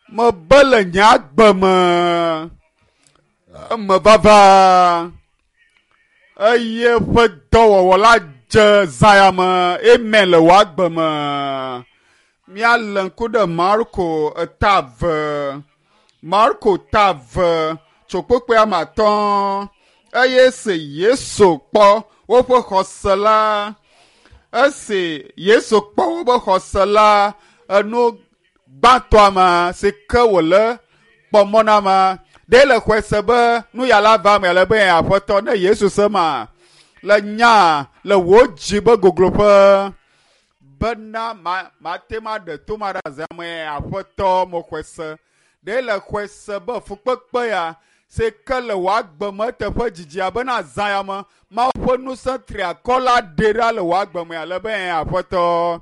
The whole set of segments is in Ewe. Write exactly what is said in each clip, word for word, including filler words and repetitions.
Mebe le nye agbe me eme vava eye ƒe dɔwɔwɔ la dze zã ya me amen le wò agbe me. Míalé ŋku ɖe Marko eta eve Marko ta eve tso kpukpui ame atɔ̃ eye esi Yesu kpɔ woƒe xɔse la esi Yesu kpɔ woƒe xɔse la enu gbãtɔa me si ke wòle kpɔ mɔ na me ɖe le xɔe se be nu ya la va eme ale be aƒetɔ ne Yesu se ma le nya le wò dzi be gogloƒe bena ma mate ma ɖe to ma ɖe aze ame aƒetɔ mo xɔe se ɖe le xɔe se be fukpekpe ya si ke le wò agbe me teƒe dzidzia bena zã ya me Mawu ƒe ŋusẽ tri akɔ la ɖe ɖa le wò agbe me ale be aƒetɔ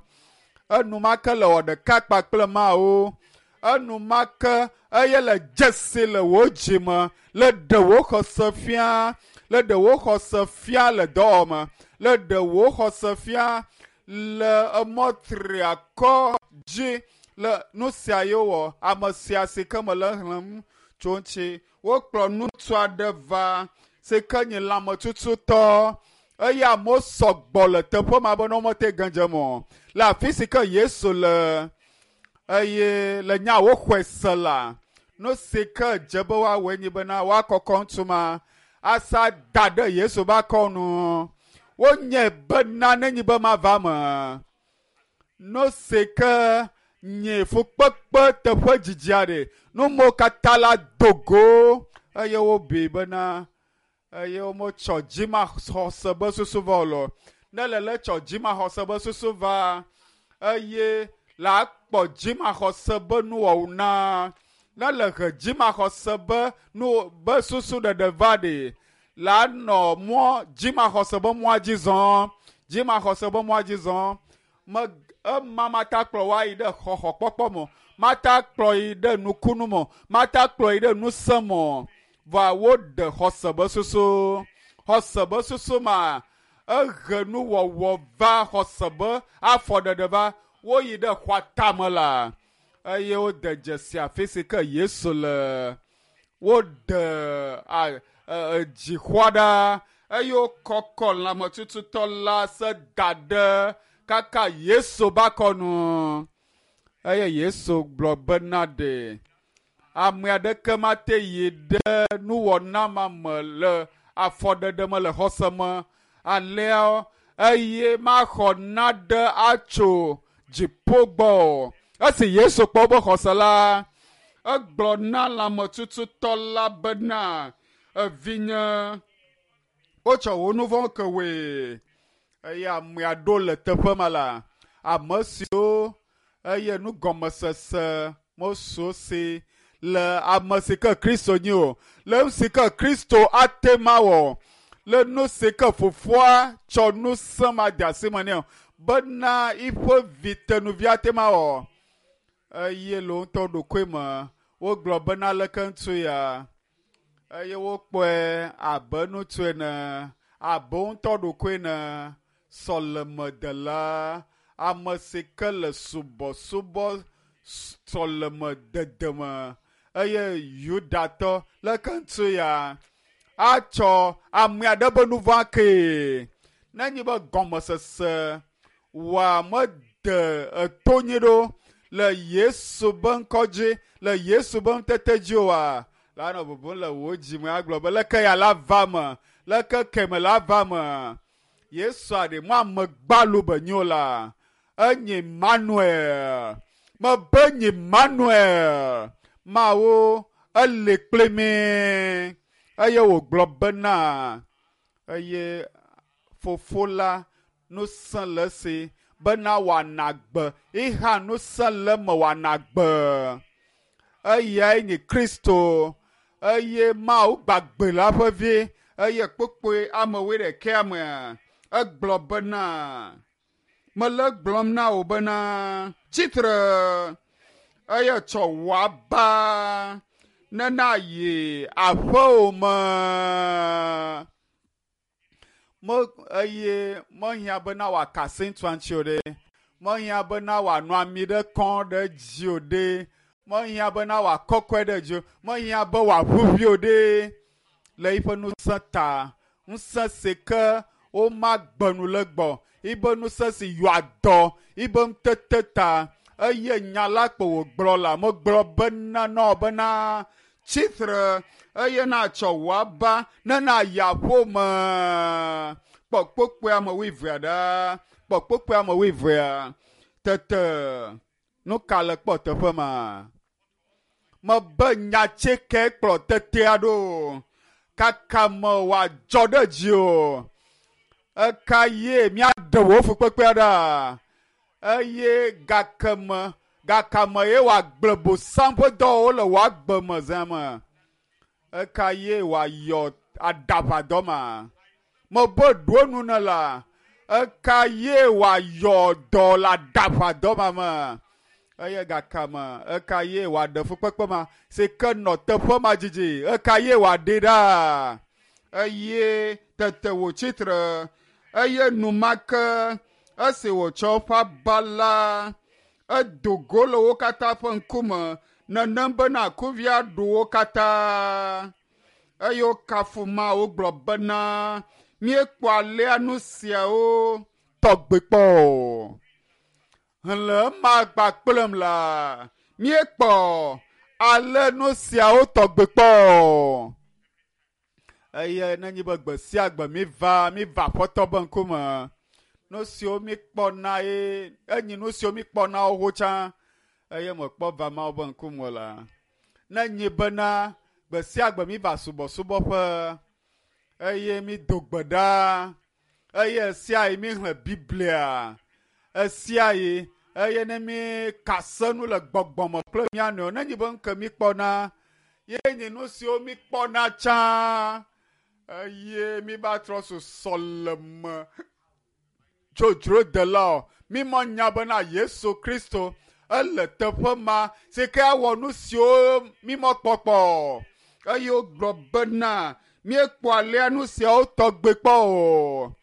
enumake le wɔ ɖeka kpakple Mawu enumake eye le dzesi le wò dzi me le ɖe wò xɔse fia le ɖe wò xɔse fia le dɔwɔwɔ me le ɖe wò xɔse fia le emɔ tri akɔ dzi le nu sia ye wɔ ame sia si ke me le xlẽm tso ŋuti wokplɔ ŋutsu aɖe va si ke nye lãmetututɔ eye amewo sɔgbɔ le teƒe ma be ne womete ge dze me o le afi si ke Yesu le eye le nya woxɔe se la nu si ke dze be woawɔe nye bena woakɔkɔ ŋutsu ma asa da ɖe Yesu ƒe akɔnu wonye bena nenyi be mava me nu si ke nye fukpekpe teƒe dzidzi aɖe numewo katã la do go eye wobui bena eye wometsɔ dzimaxɔse be susu va o lɔ ne le le tsɔ dzimaxɔse be susu va eye la akpɔ dzimaxɔse be nuwɔwɔ na ne le he dzimaxɔse be nu be susu ɖeɖe va ɖe la nɔ mɔ dzimaxɔse be mɔa dzi zɔm dzimaxɔse be mɔa dzi zɔm me ema mata kplɔ wa yi ɖe xɔxɔkpɔkpɔ me mata kplɔ yi ɖe nukunu me mata kplɔ yi ɖe ŋusẽ me vɔa woɖe xɔse be susu xɔse be susu ma ehe nuwɔwɔ va xɔse be afɔɖeɖe va woyi ɖe xɔa tame la eye wode dzesi afi si ke Yesu le woɖe a dzixɔa ɖa eye wokɔkɔ lãmetututɔ la se da ɖe kaka Yesu ƒe akɔnu eye Yesu gblɔ bena ɖe ame aɖeke mate yi ɖe nuwɔna ma me le afɔɖeɖe me le xɔse me alea eye maxɔ naɖe atso dziƒo gbɔ o. Esi Yesu kpɔ woƒe xɔse la egblɔ na lãmetututɔ la bena evinye wotsɔ wò nu vɔ̃ ke wòe eye amea ɖo le teƒe ma la ame siwo eye nugɔmesese mesu si le ame si ke Kristo nyi o le nu si ke Kristo ate ma wɔ le nu si ke fofoa tsɔ ŋusẽ ma de asi me nɛ o bena eƒe vi tenuvi ate ma wɔ eye le wo ŋutɔ ɖokui me wogblɔ bena leke ŋutsu ya eye wokpɔe abe ŋutsu ene abe wo ŋutɔ ɖokui ene sɔlemedela ame si ke le subɔsubɔ sɔlemedede me eye Yudatɔ leke ŋutsu ya atsɔ ame aɖe be nu vɔ̃ kee nenye be gɔmesese wòa mede eto nyi ɖo le Yesu be ŋkɔ dzi le Yesu be ŋutete dzi oa la nɔ bubum le wò dzi me agblɔ be leke ya la va me leke keme la va me Yesu aɖe mɔ ame gbalo be nyo la enye Emmanuel mebe nye Emmanuel Mawu ele kpli mi eye wògblɔ bena eye fofo la ŋusẽ le esi bena wòana gbe iha ŋusẽ le eme wòana gbe eyae nye Kristo eye Mawu gbagbe la ƒe vi eye kpukpui ame wuiɖekɛa mea egblɔ bena mele gblɔm na wò bena tsitre eye tsɔ wò aba nena yi aƒewò me me eye mehiã bena wòaka asi ŋutsua ŋuti o ɖe mehiã bena wòanɔ ami ɖe kɔm ɖe dzi o ɖe Mehiã bena wòakɔkɔe ɖe dzi o. Mehiã be wòaʋuʋui o ɖe le eƒe ŋusẽ ta. Ŋusẽ si ke womagbe nu le gbɔ. Yibe ŋusẽ si yɔa dɔ yibe ŋutete ta. Eye nya la kpo wògblɔ la megblɔ bena nɔ bena tsitre eye natsɔ wò aba ne nayi aƒeme. Kpɔ kpokpoea me wuievea ɖa. Kpɔ kpokpoea me wuievea. Tete nu ka le kpɔ teƒe ma? Mebe nyatseke kplɔ tetea ɖo. Kaka me wòadzɔ ɖe dzi o. Eka ye míaɖe wò fukpekpea ɖa. Eye gake me gakame ye wòagblẽ bosam ƒe dɔwɔwɔwo le wò agbe me zã me. Eka ye wòayɔ aɖaʋadɔ ma. Mebe ɖo nu ne la. Eka ye wòayɔ dɔ le aɖaʋadɔ ma me. Eye gakame eka ye wòaɖe fukpekpe ma si ke nɔ teƒe ma dzidzi. Eka ye wòaɖee ɖa. Eye tete wòtsitre. Eye enumake esi wòtsɔ eƒe aba la, edo go le wo katã ƒe ŋkume nenem bena kuvia ɖu wo katã. Eye wokafu Mawu gblɔ bena míekpɔ alea nu siawo tɔgbe kpɔ o. Le ema kpakplem la, míekpɔ ale nu siawo tɔgbe kpɔ o. Eye nenye be gbe sia gbe míva míva Aƒetɔ be ŋkume, nu siwo míkpɔna ye enyi nu siwo míkpɔna xoxo tsã eye mekpɔ va Mawu be ŋkume la. Nenye bena gbe sia gbe míva subɔsubɔƒe eye mído gbe ɖa eye sia yi míxlẽ Biblia esia yi eye ne míka se nu le gbɔgbɔme kple mía nɔewo nenye be nu ke míkpɔna ye nye nu siwo míkpɔna tsã eye míva trɔ zu sɔleme dzodzrodelawo. Mímɔ nya bena Yesu Kristo ele teƒe ma si ke awɔ nu siwo mímɔ kpɔkpɔ. Eye wogblɔ bena míekpɔ alea nu siawo tɔgbe kpɔ o.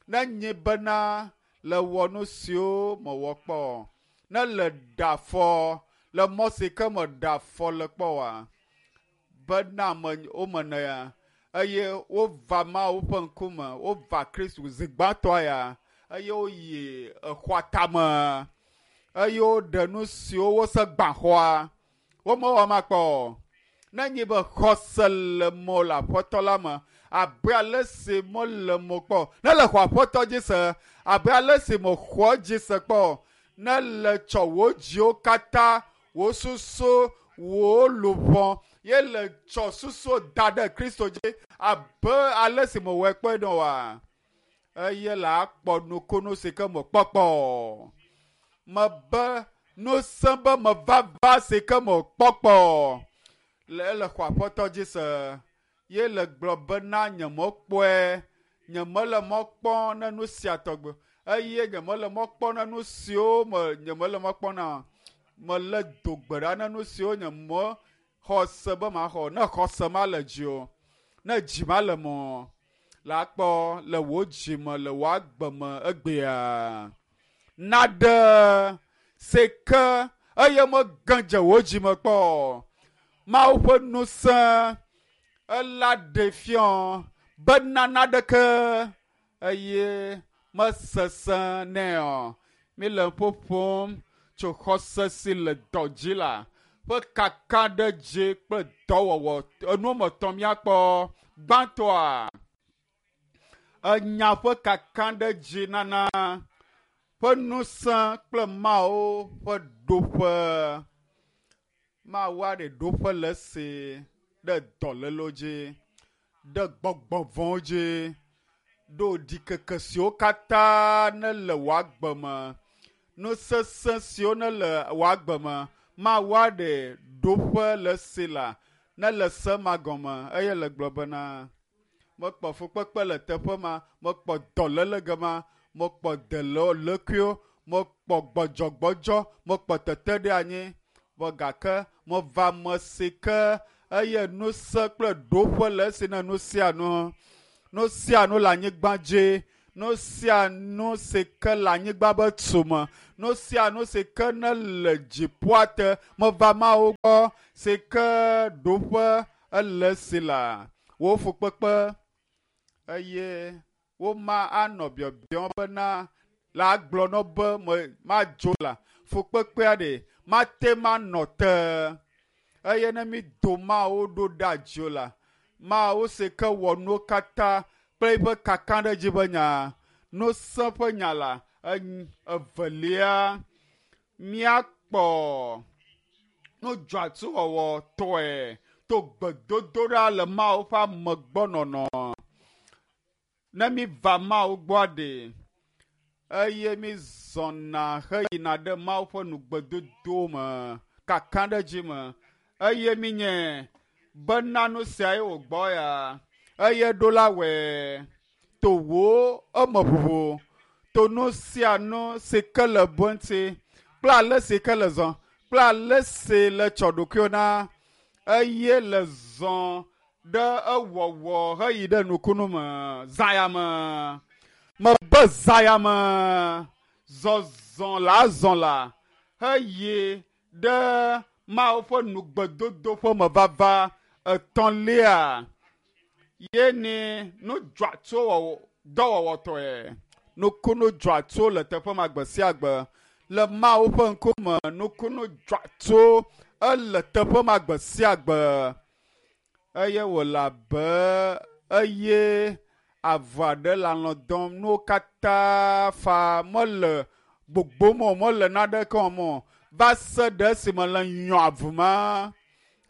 Nenye bena le wɔ nu siwo mewɔ kpɔ, ne le ɖe afɔ le mɔ si ke meɖe afɔ le kpɔ oa, bena ame womene ya eye wova Mawu ƒe ŋkume, wova Kristo zi gbãtɔa ya eye woyi exɔa tame eye woɖe nu siwo wose gbã xɔa. Womewɔ ma kpɔ o. Nenye be xɔse le mo le Aƒetɔ la me abe ale si mele mo kpɔ. Ne le xɔ Aƒetɔ dzi se abe ale si mexɔ dzi se kpɔ. Ne le tsɔ wò dziwo katã, wò susu, wò luʋɔ ye le tsɔ susu da ɖe Kristo dzi abe ale si mewɔe kpɔe nɔ oa. Eye le akpɔ nukunu si ke mekpɔkpɔ. Mebe ŋusẽ be mevava si ke mekpɔkpɔ. Le ele xɔ Aƒetɔ dzi se ye le gblɔ bena nyemekpɔe, nyemele mɔ kpɔm ne nu sia tɔgbe eye nyemele mɔ kpɔm ne nu siwo me nyemele mɔ kpɔm na. Mele do gbe ɖa ne nu siwo nyemexɔ se be maxɔ. Ne xɔse ma le dzi o, ne dzi ma le mɔ la kpɔ le wò dzi me le wò agbe me egbea. Naɖe si ke eye mege dze wò dzi me kpɔ. Mawu ƒe ŋusẽ ela ɖe fiɔ bena naɖeke eye mesesẽ nɛ o. Míle ƒoƒom tso xɔse si le dɔ dzi la ƒe kakaɖedzi kple dɔwɔwɔ. Enu woame etɔ̃ míakpɔ. Gbãtɔa, enya ƒe kakaɖedzi nana ƒe ŋusẽ kple Mawu ƒe ɖoƒe. Mawu aɖe ɖoƒe le esi ɖe dɔlélewo dzi, ɖe gbɔgbɔ vɔ̃wo dzi, ɖo ɖikeke siwo katã nele wò agbe me, nu sesẽ siwo nele wò agbe me. Mawu aɖe ɖoƒe le esi la ne le se ma gɔme eye le gblɔ bena mekpɔ fukpekpe le teƒe ma, mekpɔ dɔléle gema, mekpɔ delɔlekuiwo, mekpɔ gbɔdzɔgbɔdzɔ, mekpɔ teteɖeanyi. Vɔ gake meva ame si ke eye ŋusẽ kple ɖoƒe le esi ne nu sia nu. Nu sia nu le anyigba dzi, Nu sia nu si ke le anyigba be tume, nu sia nu si ke ne le dziƒoa te meva Mawu gbɔ si ke ɖoƒe ele si la wò fukpekpe eye woma anɔ biɔbiɔm bena la gblɔ nɔ be me madzo la fukpekpea ɖe mate manɔ te eye ne mi do Mawu ɖo ɖa dzo la Mawu si ke wɔ nuwo katã kple eƒe kakaɖedzi ƒe nya ŋusẽ ƒe nya la evelia míakpɔ nudzɔatsuwɔwɔ tɔe to gbedodoɖa le Mawu ƒe amegbɔnɔnɔ ne mi va Mawu gbɔa ɖe eye mi zɔna heyina ɖe Mawu ƒe nugbedodo me kakaɖedzi me eye mi nye bena nu siae wògbɔ ya eye ɖo la wɔe to wò eme ʋuʋu to nu sia nu si ke le bo ŋuti kple ale si ke le zɔ kple ale si le tsɔ ɖokuiwo na eye le zɔ ɖe ewɔwɔ heyi ɖe nukunu me zaya me mebe zaya me zɔzɔ la azɔ la heyi ɖe Mawu ƒe nugbedodo ƒe mevava etɔ̃lia ye ni nudzɔatso wɔwɔ dɔwɔwɔtɔe nukunu dzɔatso le teƒe ma gbe sia gbe le Mawu ƒe ŋkume nukunu dzɔatso ele teƒe ma gbe sia gbe eye wòle abe eye avu aɖe le alɔ dɔm nuwo katã fa mele gbogbom o mele naneke wɔm o va se ɖe esime le nyɔ avu ma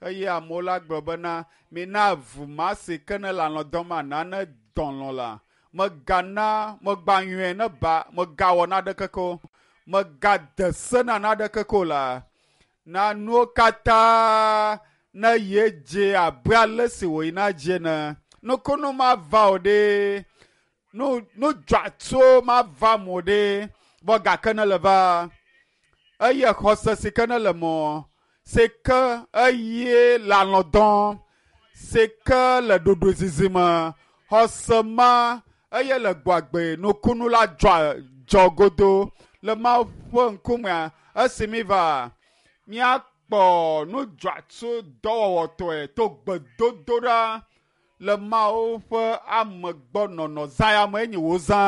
eye amewo la gblɔ bena mina avu ma si ke ne le alɔ dɔm ma nane dɔlɔ la megana megbanyɔe ne ba megawɔ naneke ko megade se na naneke ko la na nuwo katã ne ye dze abe ale si wòyina dzi ene nukunu ma va o ɖe nu nudzɔatso ma va mo ɖe vɔ gake ne le va eye xɔse si ke ne le mɔ si ke eye le alɔ dɔm si ke le ɖoɖoezizi me xɔse ma eye le gbɔagbe nukunu la dzɔ dzɔ godo le Mawu ƒe ŋkumea esi mi va míakpɔ nudzɔatso dɔwɔwɔtɔe to gbedodoɖa le Mawu ƒe amegbɔnɔnɔ zãyame enyi wòzã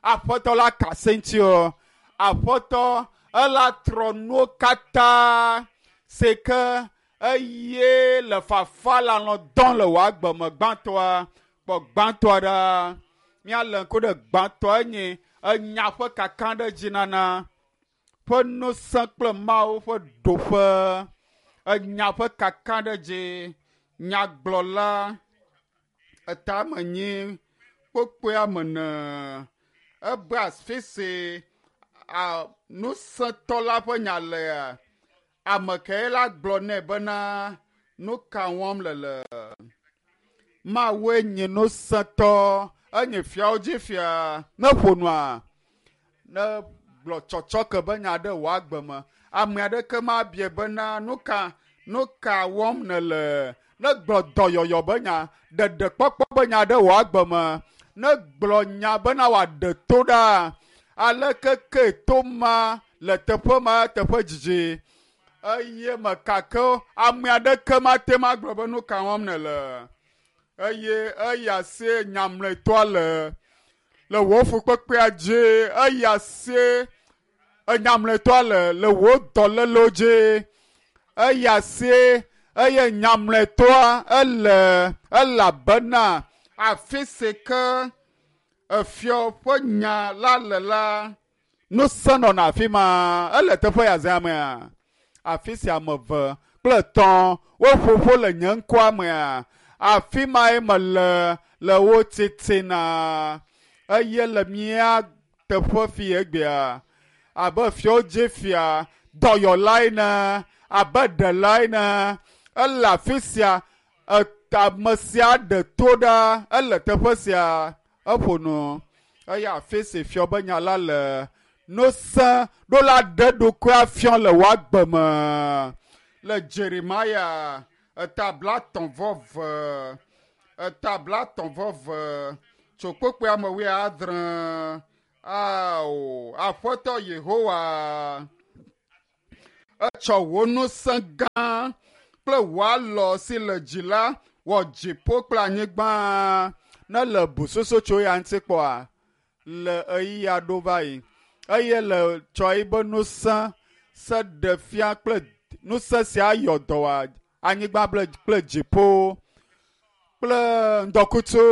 aƒetɔ la ka se ŋuti o aƒetɔ ela trɔ nuwo katã si ke eye le fafa le alɔ dɔm le wò agbe me gbãtɔa kpɔ gbãtɔa ɖa míalé ŋku ɖe gbãtɔa enye enya ƒe kakaɖedzi nana ƒe ŋusẽ kple Mawu ƒe ɖoƒe enya ƒe kakaɖedzi nyagblɔla etamenyi kpokpoea me ne ebe afi si ŋusẽtɔ la ƒe nya lea ame kae la gblɔ nɛ bena nu ka wɔm le le Mawue nye ŋusẽtɔ enye fiawo dzi fia ne ƒo nua ne gblɔ tsɔtsɔke be nya ɖe wò agbe me ame aɖeke mabia bena nu ka nu ka wɔm nèle ne gblɔ dɔyɔyɔ be nya ɖeɖekpɔkpɔ be nya ɖe wò agbe me ne gblɔ nya bena wòaɖe to ɖa aleke ke to ma le teƒe ma teƒe dzidzi eye mekake ame aɖeke mate ma gblɔ be nu ka wɔm nèle eye eya sie nyamletɔa le le wò fukpekpea dzi eya sie enyamletɔa le le wò dɔlélewo dzi eya sie eye nyamletɔa ele elabena afi si ke efiɔ ƒe nya la le la ŋusẽ nɔna afi ma ele teƒe ya zã mea afi sia ame eve kple etɔ̃ woƒo ƒu le nye ŋkɔa mea afi mae mele le wo titina eye le mía teƒe fi egbea abe fiawo dzi fia dɔyɔla ene abe ɖela ene ele afi sia ame sia ɖe to ɖa ele teƒe sia eƒo nu eye afi si fiɔ be nya la le ŋusẽ ɖo la ɖe ɖokui afiɔ le wò agbe me le Jeremaya eta blaetɔ̃ vɔ eve eta blaetɔ̃ vɔ eve Tso kpokpoe ame wuiadre. Ao, Aƒetɔ Yehowa, etsɔ wò ŋusẽ gã kple wò alɔ si le dzi la wɔ dziƒo kple anyigba. Ne le busoso tso ya ŋuti kpɔa, le ɣeyiɣi aɖo va yi eye le tsɔ yibe ŋusẽ se ɖe fia kple ŋusẽ sia yɔ dɔ wɔ anyigba kple dziƒo kple ŋdɔkutsu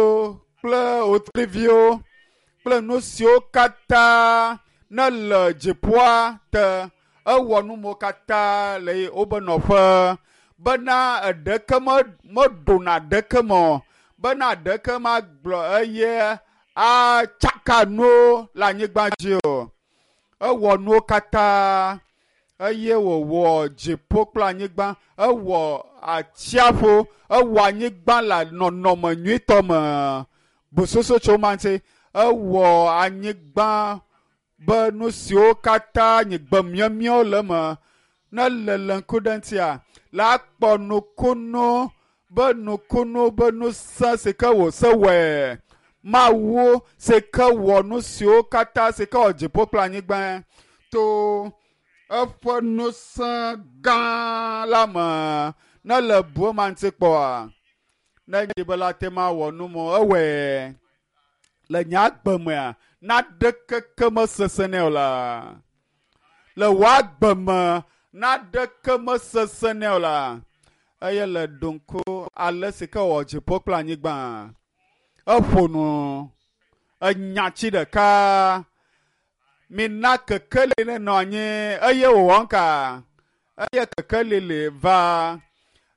kple wotriviwo kple nu siwo katã ne le dziƒoa te. Ewɔ numo katã le wobe nɔƒe bena eɖeke meɖona ɖeke me o, bena ɖeke magblɔ eye atsaka nuwo le anyigba dzi o. Ewɔ nuwo katã eye wòwɔ dziƒo kple anyigba, ewɔ atsiaƒu, ewɔ anyigba le nɔnɔme nyuitɔ me. Busoso tso ma ŋuti, ewɔ anyigba be nu siwo katã nye gbe miemiawo le eme ne le le ŋku ɖe ŋutia la kpɔ nukunu be nukunu be ŋusẽ si ke wòse wɔe. Mawu si ke wɔ nu siwo katã si ke wɔ dziƒo kple anyigba to eƒe ŋusẽ gã la me. Ne le bu ema ŋuti kpɔa, ne nye be la te ma wɔ nu mɔ ewɔe le nye agbe mea, naɖeke ke mesesẽ nɛ o la. Le wò agbe me, naɖeke mesesẽ nɛ o la. Eye le ɖo ŋku ale si ke wɔ dziƒo kple anyigba. Eƒo nu enya tsi ɖeka. Mina kekeli nenɔ anyi eye wòwɔ ŋka. Eye kekeli li va.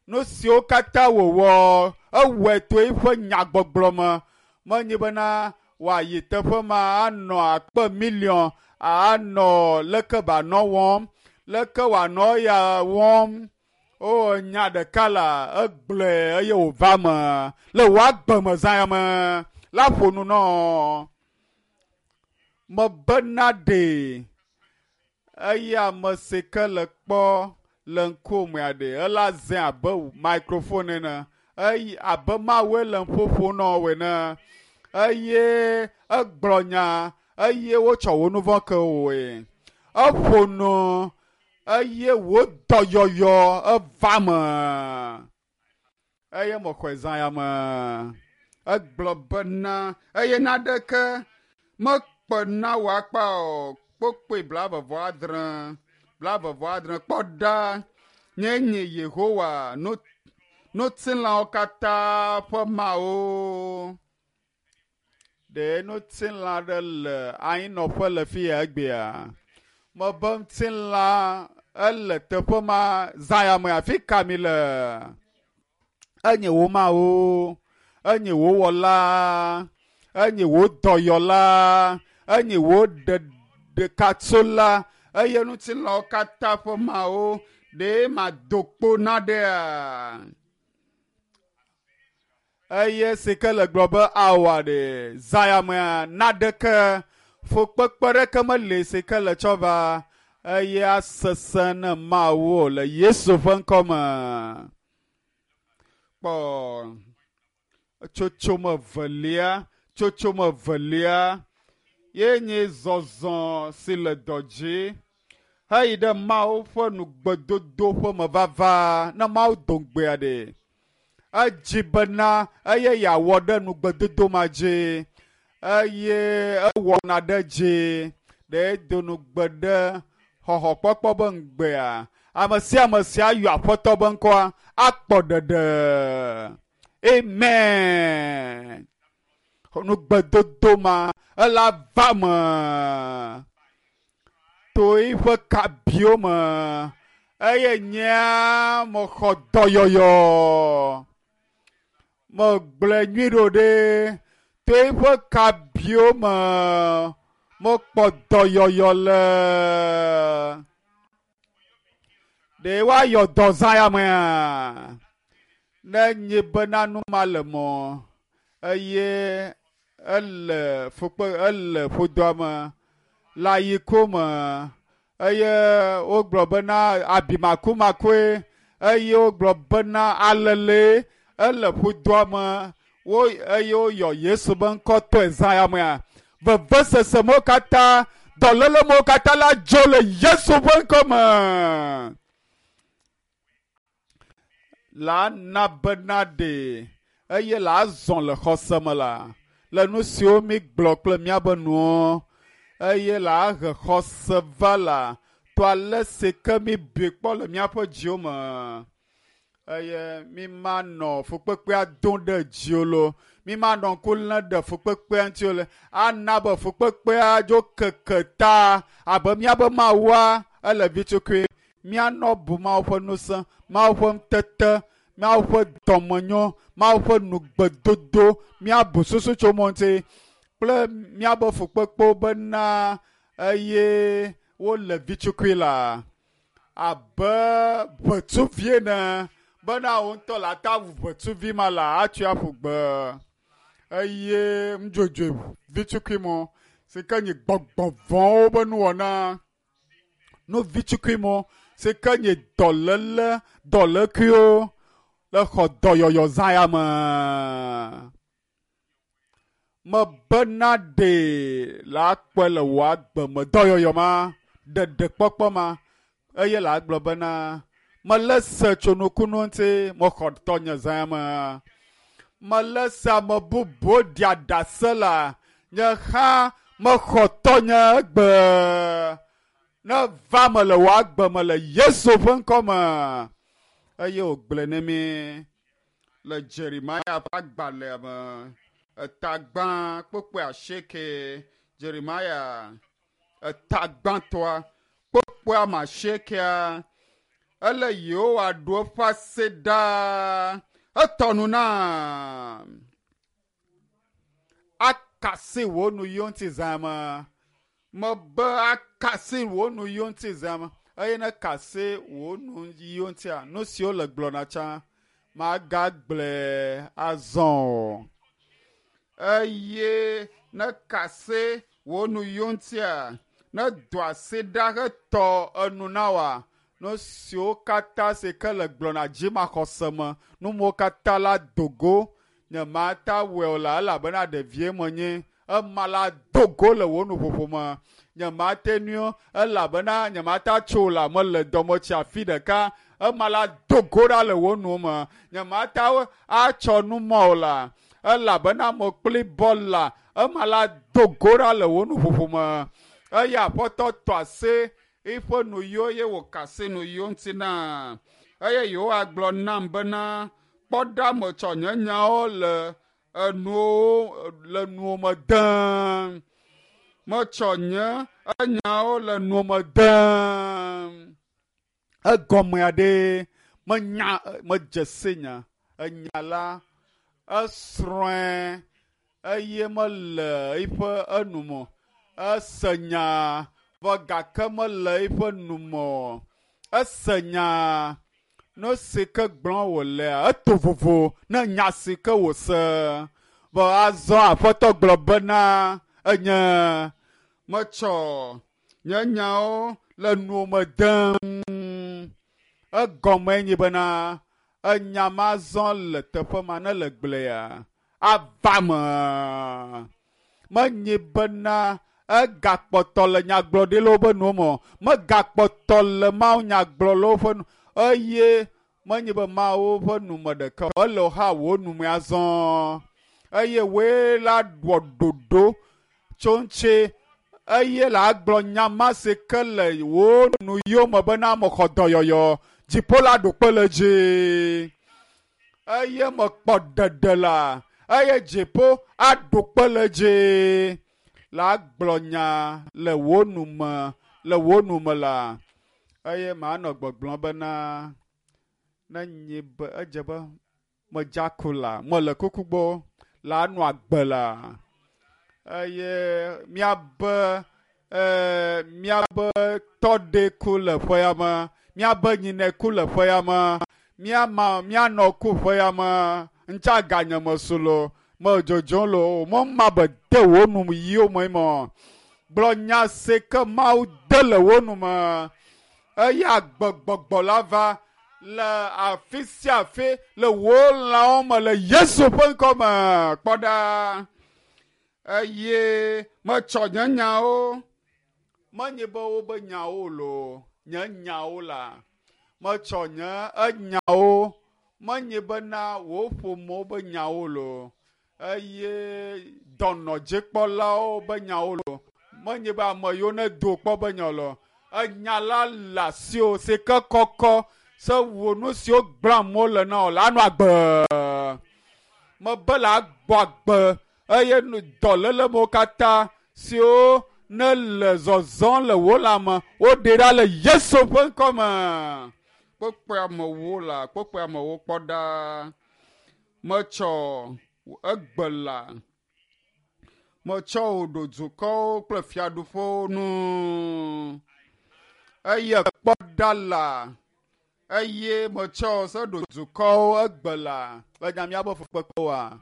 Nu siwo katã wòwɔ, ewɔe to eƒe nyagbɔgblɔ me. Menye bena wòayi teƒe ma anɔ akpe miliɔn anɔ leke wòanɔ wɔm, leke wòanɔ ya wɔm. O nya ɖeka la egblɔe eye wòva me le wò agbe me zã ya me la ƒo nu nɔ. Mebena ɖe eye ame si ke le kpɔ le ŋkuwòmea ɖe ela zẽ abe microphone ene eye abe Mawue le ƒoƒo nɔ wò ene eye egblɔ nya eye wotsɔ wò nu vɔ̃ ke wòe. Eƒo nu eye wò dɔyɔyɔ eva me eye mexɔe zã ya me. Egblɔ bena eye naɖeke mekpe na wò akpa o. Kpokpoe blaeve vɔ adre, blaeve vɔ adre. Kpɔ ɖa, nye nye Yehowa ŋutilãwo katã ƒe Mawu. Ɖe ŋutilã ɖe le anyinɔƒe le fi ya egbea? Mebe ŋutilã ele teƒe ma zã ya me. Afi ka mi le? Enye wò Mawu, enye wò wɔla, enye wò dɔyɔla, enye wò ɖekatsola eye ŋutilãwo katã ƒe Mawu. Ɖe mado kpo na ɖea? Eye si ke le gblɔ be awa ɖe zã ya mea naɖeke fukpekpe ɖeke meli si ke le tsɔ va eye asesẽ ne Mawu le Yesu ƒe ŋkɔ me. Kpɔ tsotsome velia, tsotsome velia ye nye zɔzɔ si le dɔ dzi heyi ɖe Mawu ƒe nugbedodo ƒe mevava ne Mawu do ŋugbea ɖe. Edzi bena eye yeawɔ ɖe nugbedodo ma dzi eye ewɔna ɖe dzi. Ɖe do nugbe ɖe xɔxɔkpɔkpɔ be ŋugbea. Ame sia ame si ayɔ Aƒetɔ be ŋkɔa akpɔ ɖeɖe. Amen. Nugbedodo ma ela va me to eƒe kabiwo me eye nyea mexɔ dɔyɔyɔ. Megblɔe nyui ɖo ɖe to eƒe kabiwo me mekpɔ dɔyɔyɔ le. Ɖe woayɔ dɔ zã ya mea? Ne nye bena nu ma le mɔ eye ele fukpe ele ƒodoa me le ayiko me eye wogblɔ bena abimakumakue eye wogblɔ bena alele ele ƒodoa me Wo eye woyɔ Yesu be ŋkɔ tɔe zã ya mea. Vevesese mewo katã, dɔléle mewo katã la dzo le Yesu ƒe ŋkɔ me. La na bena ɖe eye la zɔ le xɔse me la le nu siwo mi gblɔ kple míabe nuwo eye la he xɔse va la to ale si ke mi bui kpɔ le míaƒe dziwo me. Eye mi ma nɔ fukpekpea dom ɖe dziwo lo, mi ma nɔ ŋku lém ɖe fukpekpea ŋuti o le ana be fukpekpea dzo keke ta abe míabe Mawua ele vitukui. Míanɔ bu Mawu ƒe ŋusẽ, Mawu ƒe ŋutete, Mawu ƒe dɔmenyo, Mawu ƒe nugbedodo, míabu susu tso mo ŋuti kple míabe fukpekpewo bena eye wole vitukui la abe ʋetsuvi ene bena wo ŋutɔ la ta wu ʋetsuvi ma la atsɔe aƒu gbe eye nudzodzoe vitukui mɔ si ke nye gbɔgbɔ vɔ̃wo be nuwɔna nu vitukui mɔ si ke nye dɔléle dɔlékuiwo le xɔ dɔyɔyɔ zã ya me. Mebena ɖe la kpɔe le wò agbe me dɔyɔyɔ ma ɖeɖekpɔkpɔ ma eye la gblɔ bena mele se tso nukunu ŋuti mexɔ tɔnye zã ya me. Mele se ame bubuwo ɖia ɖase la nye hã mexɔ tɔnye egbe. Ne va me le wò agbe me le Yesu ƒe ŋkɔ me. Eye wògblɔe ne mi le Jeremia ƒe agbalẽa me etagbã kpokpoe asieke Jeremia etagbãtɔa kpokpoe ame asiekea ele Yehowa ɖo eƒe ase ɖaa etɔ nu na akasi wò nu yiwo ŋuti zã me. Mebe akasi wò nu yiwo ŋuti zã me. Eye ne kasi wò nu yiwo ŋutia, nu siwo le gblɔna tsã magagblɔe azɔ o. Eye ne kasi wò nu yiwo ŋutia, ne do asi ɖa hetɔ enu na woa, nu siwo katã si ke le gblɔna dzimaxɔse me, nu mawo katã la do go. Nye mata wɔe o la elabena ɖevie menye. Ema la do go le wò nuƒoƒo me. Nye mate nui o elabena nye mata tso o la mele dɔme tsi afi ɖeka. Ema la do go ɖa le wò nu me. Nye mata atsɔ nu mɔ o la elabena mekpli bɔl la. Ema la do go ɖa le wò nuƒoƒo me. Eye Aƒetɔ tɔ asi eƒe nu yiwo eye wòka asi nu yiwo ŋuti na. Eye Yehowa gblɔ nam bena kpɔ ɖa metsɔ nye nyawo le enuwo le nuwo me dem. Metsɔ nye enyawo le nuwo me dem. Egɔmea ɖe menya medze si nya enya la esrɔ̃e eye mele eƒe enume ese nya vɔ gake mele eƒe nume o. Ese nya nu si ke gblɔm wòlea eto vovo ne nya si ke wòse. Vɔ azɔ Aƒetɔ gblɔ bena enye metsɔ nye nyawo le nuwo me dem. Egɔme nye bena enya ma zɔ le teƒe ma ne le gblẽa ava me. Menye bena egakpɔtɔ le nyagblɔɖilawo ƒe nuwo me o. Megakpɔtɔ le Mawu nyagblɔlawo ƒe nu eye menye be Mawu ƒe nume ɖeka o. Ele hã wò nume azɔ eye woe la wɔ ɖoɖo tso ŋuti eye la gblɔ nya ma si ke le wò nu yiwo me bena mexɔ dɔyɔyɔ dziƒo la ɖo kpe le dzi eye mekpɔ ɖeɖe la eye dziƒo aɖo kpe le dzi la gblɔ nya le wò nume le wò nume la eye manɔ gbɔgblɔm bena ne nye be edze be medza ku la mele kuku gbɔ la nɔ agbe la eye míabe eh, míabe tɔɖe ku le ƒe ya me míabe nyinɛ ku le ƒe ya me míama míanɔ ku ƒe ya me ŋutsa ganye me su lo me dzodzom lo mema be de wò nu yiwo me mɔ gblɔ nya si ke Mawu de le wò nu me eye agbegbɔgbɔ la va Le afi sia afi le wò lãwo me le Yesu ƒe ŋkɔ me. Kpɔ ɖa. Eye metsɔ nye nyawo. Menye be wobe nyawo loo, nye nyawo la. Metsɔ nye enyawo. Menye bena wò ƒomewo be nyawo loo. Eye dɔnɔdzikpɔlawo be nyawo loo. Menye be ame yiwo ne do kpɔ be nya loo. Enya la le asiwò si ke kɔkɔ se wò nu siwo gblẽm wole na wò la anɔ agbe. Mebe le agbɔ agbe eye dɔlélemewo katã siwo ne le zɔzɔm le wò lãme woɖe ɖa le Yesu ƒe ŋkɔ me. Kpokpɔe amewo la, kpokpɔe amewo kpɔ ɖa. Metsɔ egbe la. Metsɔ wò ɖo dukɔwo kple fiaɖuƒewo nu. Eye kpɔ ɖa la. Eye metsɔ se ɖo dukɔwo egbe la. Enya míaƒe fukpekpewoa.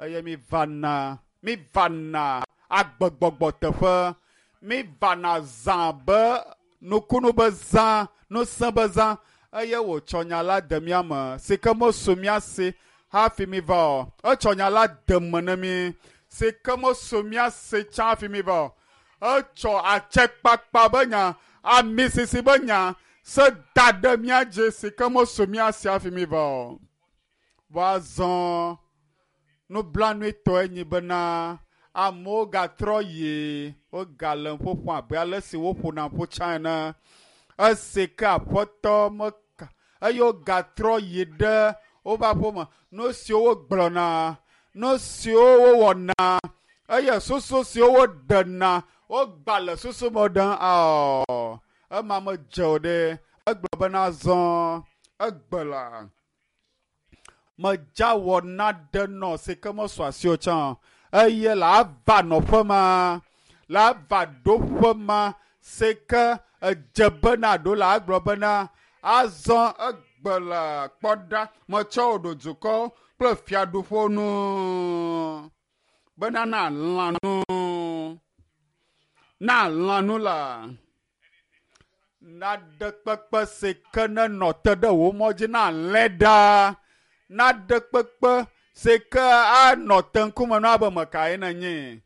Eye mi vana, mi vana agbegbɔgbɔ teƒe. Mi vana zã be nukunu be zã, nusẽ be zã. Eye wòtsɔ nya la de mía me si ke mesu mía si hafi mi va o. Etsɔ nya la de me ne mi si ke mesu mía si tsã hafi mi va o. Etsɔ atsekpakpa be nya, amisisi be nya se da ɖe mía dzi si ke mesu mía si hafi mi va o. Vɔ azɔ nublanuitɔe nyi bena amewo gatrɔ yi wogale ƒoƒom abe ale si woƒona ƒu tsã ene. Esi ke aƒetɔ meka eye wogatrɔ yi ɖe woƒe aƒeme. Nu siwo wogblɔna, nu siwo wowɔna eye susu siwo woɖena wogba le susu me ɖem awɔ. Ema medze o ɖe. Egblɔ bena azɔ egbe la. Medza wɔ naɖe nɔ si ke mesu asi o tsã. Eye la ava nɔƒe ma, la ava ɖoƒe ma si ke edze bena ɖo la agblɔ bena azɔ egbe la kpɔ ɖa metsɔ wò ɖo dukɔ kple fiaɖuƒewo nu bena na lã nu, na lã nu la. Naɖe kpekpe si ke nenɔ te ɖe wò mɔ dzi na lẽ ɖa. Naɖe kpekpe si ke anɔ te ŋkume na abe mekae nenye.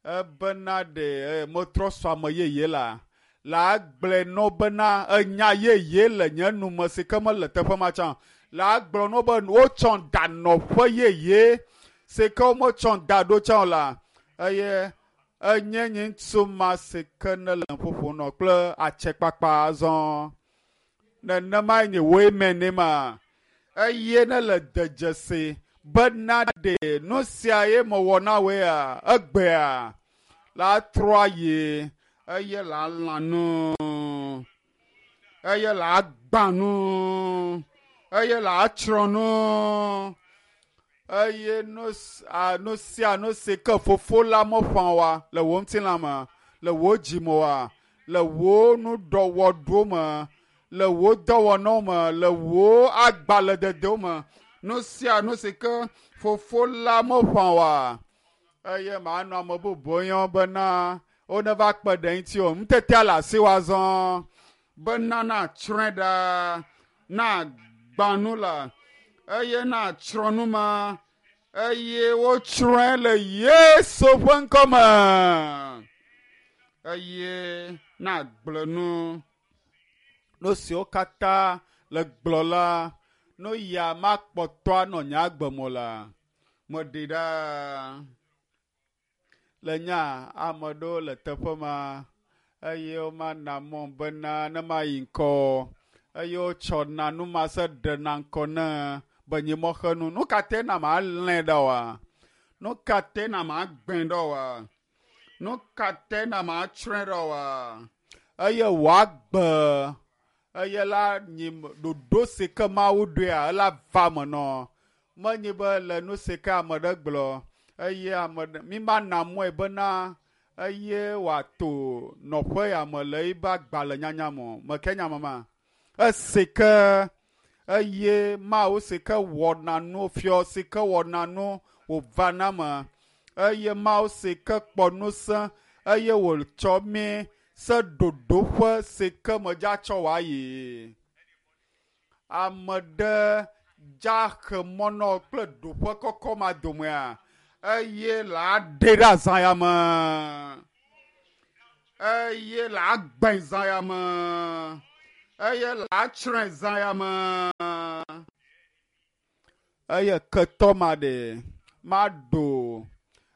Ebena ɖe metrɔ sɔ ame yeye la. La agblɔe nɔ bena enya yeye le nye nume si ke mele teƒe ma tsã. La agblɔ nɔ be wotsɔ da nɔƒe yeye si ke wometsɔ da ɖo tsã o la. Eye enye nye ŋutsu ma si ke ne le ƒoƒo nɔ kple atsekpakpa azɔ. Nenemae nye woe me ne ma. Eye ne le de dzesi bena ɖe nu sia ye mewɔ na woea egbea la trɔ ayi eye la lã nu eye la gbã nu eye la tsrɔ̃ nu eye nu nu sia nu si ke fofo la meƒã oa le wò ŋutilã me, le wò dzi me oa, le wò nuɖɔwɔɖo me, le wò dɔwɔnawo me, le wò agbalẽdedewo me, nu sia nu si ke fofo la meƒã oa eye manɔ ame bubuwo yɔm bena woneva kpe ɖe ŋuti o. Ŋutetea le asiwò azɔ bena natsrɔ̃e ɖa, nagbã nu la eye natsrɔ̃ nu ma eye wotsrɔ̃e le Yesu ƒe ŋkɔ me eye nagblẽ nu. Nu siwo katã le gblɔ la, nu ya makpɔtɔ anɔ nye agbe me o la, meɖe ɖa. Le nya ame ɖewo le teƒe ma eye womana mɔ bena ne mayi ŋkɔ eye wotsɔna nu ma se ɖena ŋkɔ ne be nye mɔxenu. Nu ka te na malẽ ɖa oa? Nu ka te na magbẽ ɖa oa? Nu ka te na matsrɔ̃e ɖa oa? Eye wòagbe eye la nyi ɖoɖo si ke Mawu ɖoea ela va me nɔ. Menye be le nu si ke ame ɖe gblɔ eye ame ɖe mi mana mɔe bena eye wòato nɔƒe ya me le ebe agbalẽ nyanya me o. Meke nya mama. Esi ke eye Mawu si ke wɔna nu fiɔ si ke wɔna nu wòvana me eye Mawu si ke kpɔ ŋusẽ eye wòtsɔ mi se ɖoɖoƒe si ke medza tsɔ wòayi. Ame ɖe dza xe mɔ nɔ kple ɖoƒe kɔkɔ ma domea eye la ɖe ɖe azã ya me eye la gbẽ zã ya me eye la tsrɔ̃e zã ya me eye ketɔ ma ɖe maɖo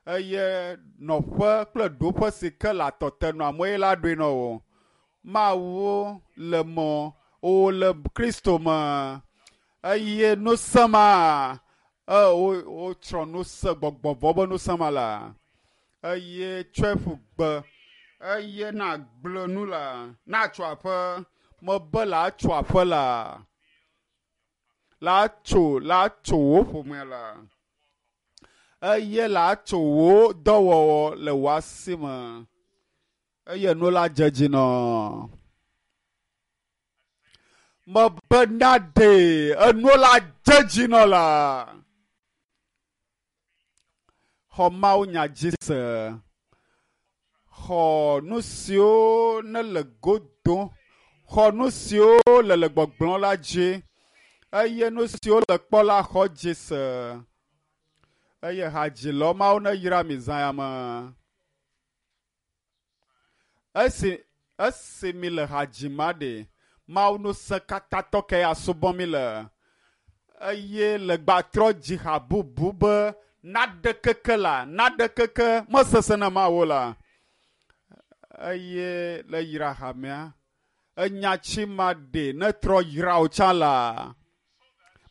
eye nɔƒe kple ɖoƒe si ke le atɔte nɔ amewo la ɖoe nɔ wo. Mawu le mɔ wo le Kristo me eye nusẽ ma e wo wotsrɔ̃ nusẽ gbɔgbɔ vɔ be nusẽ ma la eye tsɔe ƒu gbe eye na gblẽ nu la na tso aƒe mebe la tso aƒe la la tso la tso wò ƒomea la eye la tso wò dɔwɔwɔ le wò asi me eye nu la dze dzi nɔ. Mebe na ɖe enu la dze dzi nɔ la. Xɔ Mawu nya dzi se. Xɔ nu siwo ne le go dom. Xɔ nu siwo le le gbɔgblɔ la dzi. Eye nu siwo le kpɔ la xɔ dzi se. Eye hadzilɔ Mawu ne yra mi zã ya me. Esi esi mi le hadzima ɖe Mawu nusẽ katãtɔ ke ya subɔ mi le eye le gbatrɔ dzi ha bubu be naɖe keke la naɖe keke mesesẽ na Mawu la eye le yra hamea enya tsi ma ɖe ne trɔ yra wo tsã la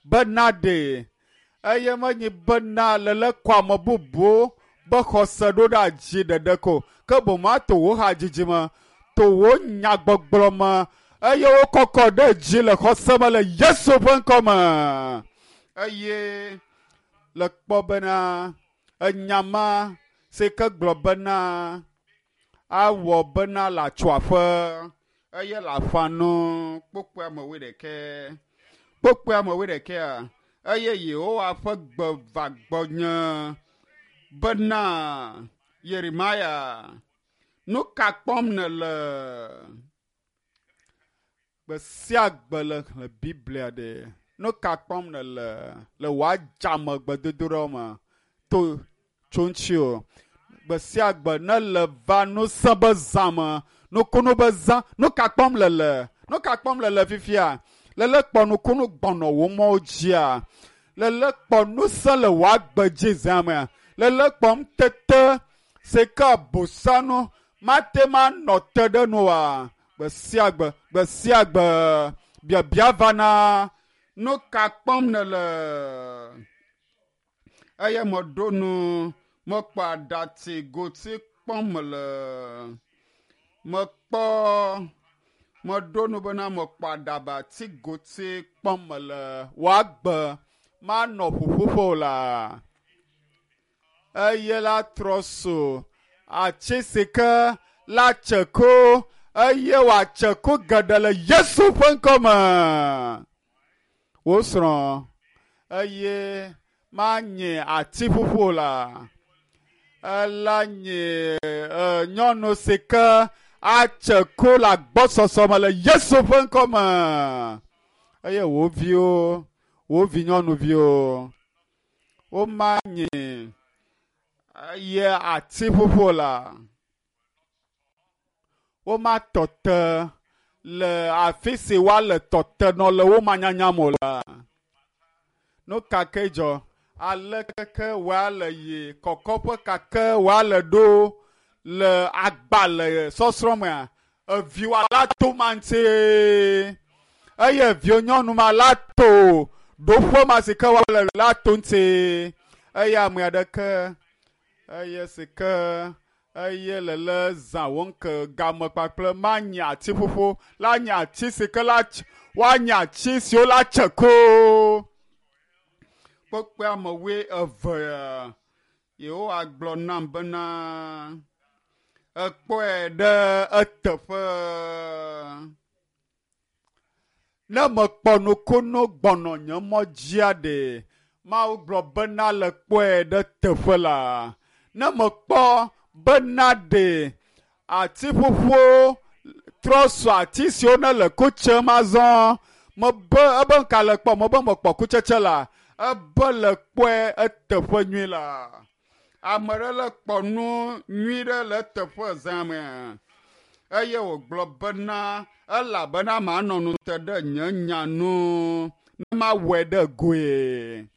be naɖe eye menyi bena lele kɔ ame bubuwo be xɔse ɖo ɖe adzi ɖeɖe ko ke boŋ ato wò hadzidzi me to wò nyagbɔgblɔ me eye wokɔkɔ ɖe dzi le xɔse me le Yesu ƒe ŋkɔ me eye le kpɔ bena enya ma si ke gblɔ bena awɔ bena le atso aƒe eye le aƒa nu kpokpoa me wuiɖekɛ kpokpoa me wuiɖekɛa eye Yehowa ƒe gbe va gbɔnye bena Yeremia nu ka kpɔm nèle? Gbe sia gbe le xlẽ Biblia ɖe nu ka kpɔm nèle le wò adzame gbedodoɖa me to tso ŋuti o. Gbe sia gbe ne le va nusẽ be zã me nukunu be zã nu ka kpɔm lele nu ka kpɔm lele fifia lele kpɔ nukunu gbɔnɔ wò mɔwo dzia lele kpɔ nusẽ le wò agbe dzi zã mea lele kpɔm tete si ke bosanu mate ma nɔ te ɖe nu oa gbe sia gbe gbe sia gbe biabia vana nu ka kpɔm nèle eye meɖo nu mekpɔ aɖatsi goti kpɔm le mekpɔ meɖo nu bena mekpɔ aɖabatsi goti kpɔm le wò agbe manɔ ƒuƒoƒo o la eye la trɔ so atsi si ke la tse ko eye wòatse ku geɖe le Yesu ƒe ŋkɔ me. Wo srɔ̃ eye manye ati ƒuƒu o la ela nye nyɔnu si ke atse ku le agbɔsɔsɔ me le Yesu ƒe ŋkɔ me eye wo viwo wo vi nyɔnuviwo womanye eye ati ƒuƒu o la womatɔ te le afi si woale tɔ te nɔ le wo manyanya me o la. Nu ka ke dzɔ ale keke woale yi kɔkɔƒe kake woale ɖo le agbalẽ sɔsrɔ̃ mea eviwoa la to ma ŋuti eye eviwo nyɔnu ma la to ɖoƒe ma si ke woale la to ŋuti eye ame aɖeke eye si ke eye lele zã wo ŋke game kpakple manye ati ƒuƒu la nye ati si ke la woanye ati siwo la tse ko. Kpekpe ame wui eve Yehowa gblɔ nam bena ekpɔe ɖe eteƒe. Ne mekpɔ nukunu gbɔnɔ nye mɔ dzia ɖe Mawu gblɔ bena le kpɔe ɖe teƒe la. Ne mekpɔ bena ɖe ati ƒuƒuwo trɔ su ati siwo ne le ku tsem azɔ Mebe ebe ŋka le kpɔ mebe mekpɔ kutsetse la ebe le kpɔe eteƒe nyui la. Ame ɖe le kpɔ nu nyui ɖe le eteƒe zã me eye wògblɔ bena elabena manɔ nu te ɖe nye nya nu ne mawɔe ɖe goe.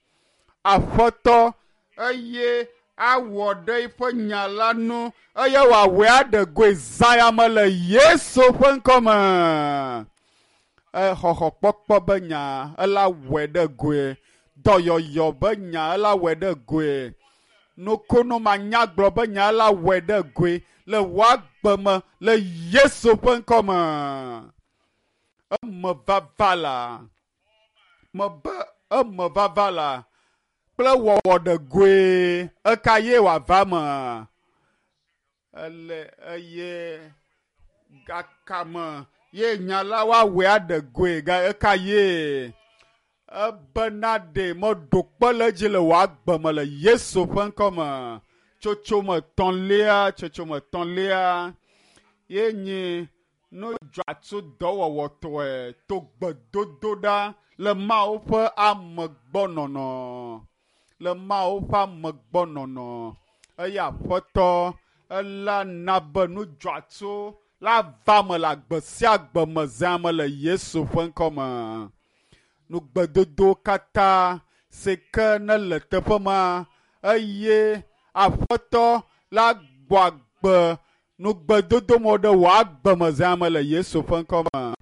Aƒetɔ eye awɔ ɖe eƒe nya la nu eye wòawɔe aɖe goe zã ya me le Yesu ƒe ŋkɔme. Exɔxɔkpɔkpɔ be nya ela wɔe ɖe goe, dɔyɔyɔ be nya ela wɔe ɖe goe, nukunu manyagblɔ be nya ela wɔe ɖe goe le wò agbe me le Yesu ƒe ŋkɔme. Eme vava la, mebe eme vava la kple wɔwɔ ɖe goe eka ye wòava me. Ele eye gakame ye nya la woawɔe aɖe goe ga eka ye ebena ɖe meɖo kpe le edzi le wò agbe me le Yesu ƒe ŋkɔme. Tsotsome etɔ̃lia, tsotsome etɔ̃lia ye nye nu dzɔatsu dɔwɔwɔtɔe to gbedodoɖa le Mawu ƒe amegbɔnɔnɔ. Le Mawu ƒe amegbɔnɔnɔ eye Aƒetɔ ela na be nu dzɔatsu la va me le agbe sia agbe me zã me le Yesu ƒe ŋkɔme. Nugbedodo katã si ke ne le teƒe ma eye Aƒetɔ la gbɔ agbe nugbedodo me ɖe wò agbe me zã me le Yesu ƒe ŋkɔme.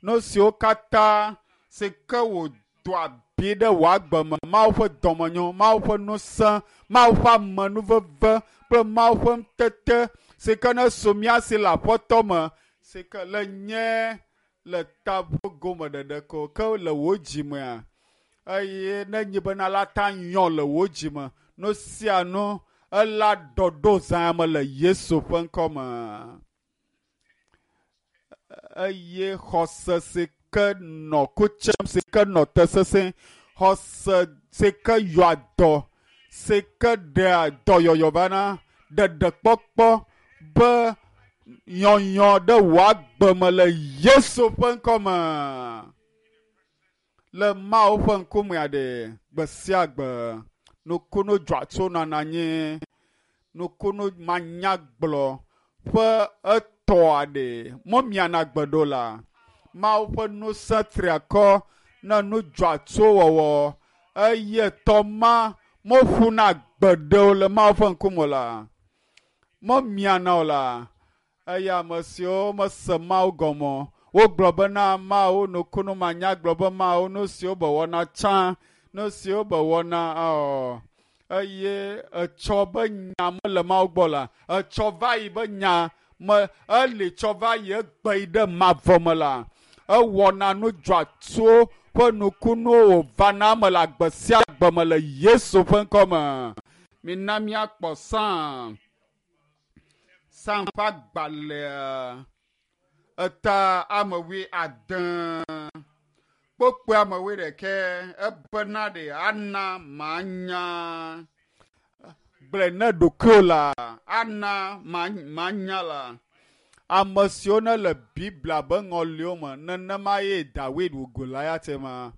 Nu siwo katã si ke wòdo abi ɖe wò agbe me, Mawu ƒe dɔmenyo, Mawu ƒe ŋusẽ, Mawu ƒe amenuveve kple Mawu ƒe ŋutete si ke ne su mía si le Aƒetɔ me, si ke le nye le taƒo gome ɖeɖe ko ke le wò dzimea eye ne nyi bena la ta nyɔ le wò dzime nu sia nu ela ɖɔɖo zã me le Yesu ƒe ŋkɔme. Eye xɔse si ke nɔ kutsem si ke nɔ te sesẽ, xɔse si ke yɔa dɔ si ke ɖea dɔyɔyɔ vana, ɖeɖekpɔkpɔ be yɔyɔ ɖe wò agbe me le Yesu ƒe ŋkɔme. Le Mawu ƒe ŋkumea ɖe gbe sia gbe nukunu dzɔatsu nɔna anyi, nukunu manyagblɔ ƒe etɔa ɖe memiana gbe ɖo la. Mawu ƒe ŋusẽ triakɔ ne nu dzɔatsu wɔwɔ eye tɔ ma meƒuna gbe ɖe o le Mawu ƒe ŋkume la. Memiana o la. Eye ame siwo mese Mawu gɔme wogblɔ bena Mawu nukunu manyagblɔ be Mawu nu siwo be wɔna tsã, nu siwo be wɔna ɔ eye etsɔ be nya mele Mawu gbɔ la, etsɔ va yi be nya me eli tsɔ va yi egbe yi ɖe mavɔ me la, ewɔna nu dzɔatsuwo ƒe nukunuwo wòvana eme le agbe sia agbe me le Yesu ƒe ŋkɔme. Mina míakpɔ Psalm. Psalm ƒe agbalẽa eta ame wui ade kpokpoe ame wui ɖekɛ ebena ɖe ana manya gblɔe ne ɖokuiwò la ana manya la. Ame siwo ne le Biblia be ŋɔliwo me nenema ye Dawid wu Goliat ma.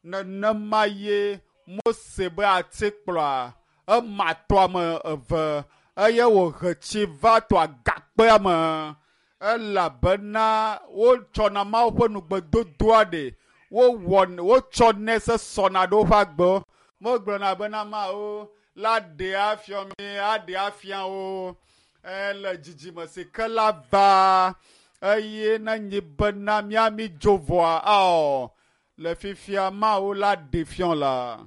Nenema ye Mose be atikplɔa ema tɔ ame eve eye wòhe tsi va tɔ agakpea me elabena wotsɔna Mawu ƒe nugbedodoa ɖe wowɔ wotsɔnɛ se sɔna ɖe woƒe agbewo. Megblɔna bena Mawu la ɖe afia mi, aɖe afia wo ele dzidzime si ke la va eye ne nyi bena míami dzo vɔa ao le fifia Mawu la ɖe fiɔ la.